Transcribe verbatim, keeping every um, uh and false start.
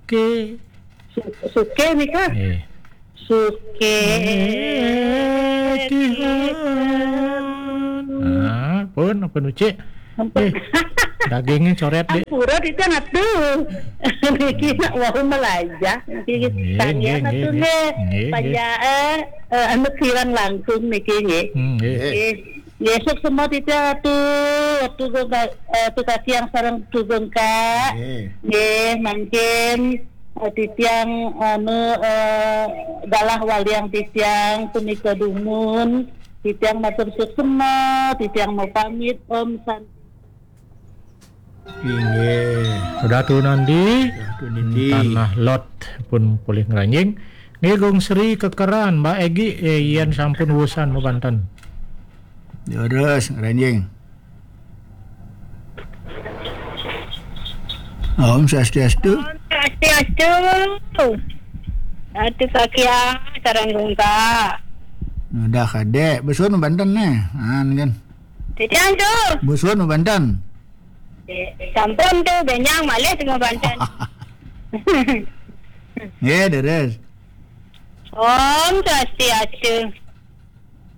Suke. Su- Suke nika. Eh. Suke. Eh, Tihan. Nah, pun apa nucik? Eh, dagingnya coret deh. Ampura, Titiang atuh. Niki nak wau melajah. Niki nggih, tanya nggih, atuh nggih, nggih. Nggih, nggih. Panjang, eh, eh, anu kirang langkung niki nggih. Hmm, nggih. Nggih. Nggih, suksma Titiang atuh, atuh Gong Ka-, eh, atuh Katiang sareng atuh Gong Ka. Nggih. Nggih, mangkin, eh, Titiang, anu, eh, galah waliang Titiang punika dumun. Titiang matur suksma, Titiang mau pamit, Om Santi. Inggih. Sudah tuh nanti. Sudah tuh nanti. Tanah lot pun pulih ngranjing. Nggih, Gung Sri Kekeran, Mbak Egi, eh, yen sampun wusan mabanten. Leres, ngranjing. Om Swastiastu. Om Swastiastu. Atuh Katiang sareng Gong Ka. Udah kadek, besun mabanten nih. An kan. Titiang tuh. Besun mabanten. Eh, sampun tuh, benjang malih tuh mabanten. Nggih, leres. Om Swastiastu.